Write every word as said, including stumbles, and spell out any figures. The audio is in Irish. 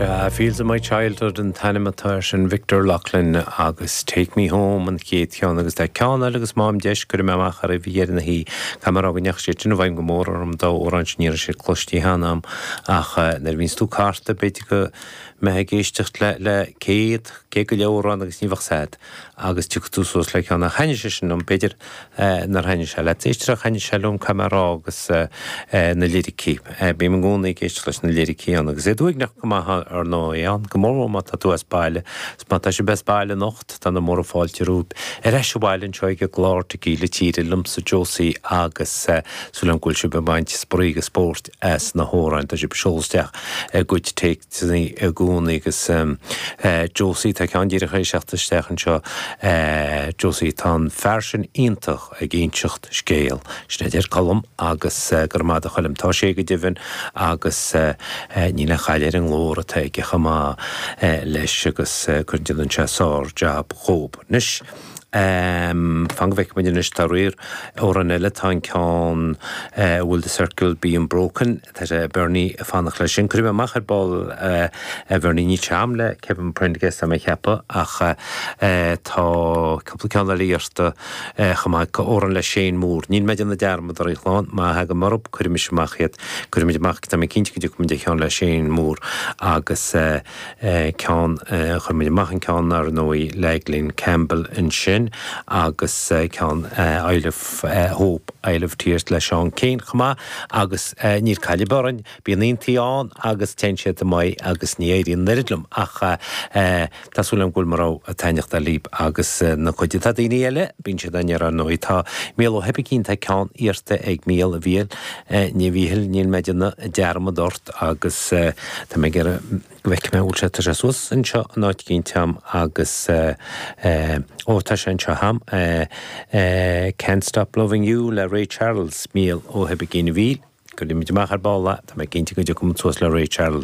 Sea, Fields of My Childhood an t-ainm atá air sin Victor Loughlin agus Take Me Home an chéad cheann agus tá ceann eile agus má fhaighim deis cuirfidh mé amach ar bhí ar na hí Camará go neach sé sin bhaim go mór orm dá amhrán sin ní raibh sé cloiste cheana agam ach nuair a bhíonns tú carta b'fhéidir go mbeidh ag éisteacht le le céad céad go leith amhrán agus ní bheadh sad agus tiocfaidh tú suas le ceann ach thaitnigh sé sin liom b'fhéidir nár thaitnigh sé leat éisteacht ach thaitnigh sé liom caithfidh mé a rá agus na liricí. Bím i gcónaí ag éisteacht leis na liricí ann agus é uaigneach go maith ar ndóigh ann go mór mór má tá tú as baile is má tá sibh as baile anocht tá na móra fáilte romhaibh ar ais abhaile anseo ag an gclár Tequila Tíre liomsa Josie agus súil agam go bhfuil sibh ag baint spraoi agus spóirt as na hamhráin tá sibh ag seoladh isteach a gcuid téacsanna i gcónaí agus Josie tá ceann díreach tar éis teacht isteach anseo Josie tá an fear sin iontach ag inseacht scéal sin a deir Colm agus go raibh maith agat a Choilm tá sé go deimhin agus níl aon chaill ar an nglór atá aige chomh maith leis agus cuireann sé sár jab dhób. Anois fan go bhfeicfidh muid anois tá riar amhrán eile tá an ceann Will the Circle Be Unbroken tá sé Bernie ag fanacht leis sin. Cuirfidh mé amach ar ball a Bhernie níl sé agam le Kevin Prendergast tá mé ag ceapadh ach tá cúpla ceann eile iarrta chomh maith amhrán le Shane Moore. Níl mé ag déanamh dearmad ar a chlann má thagaim orthu cuirfimis amach iad cuirfimid amach tá mé cinnte go dtiocfaimid ar cheann le Shane Moore agus ceann chuir muid amach an ceann ar ndóigh le Glen Campbell ansin agus ceann Isle of Hope Isle of Tears le Seán Keane chomh maith agus níl caill ar bith orainn bíonn aontaí ann agus téann siad amach agus ní éiríonn an oiread liom ach tá súil agam go bhfuil mo rogha ag taitneacht libh agus na cuid atá daoine eile bíonn siad an ar ndóigh tá Mícheál Ó hOibicín tá ceann iarrta ag Mícheál a Mhíchíl ní Mhíchíl níl mé ag déanamh dearmad ort agus tá mé ag iarraidh go bhfeicfidh mé bhfuil sé tá sé suas anseo in áit éicint agam agus ó tá sé anseo agam Can't Stop Loving You le Ray Charles Mícheál Ó hOibicín a Mhíchíl cuirfimid amach ar ball tá mé cinnte go dtiocfaidh muid suas le Ray Charles.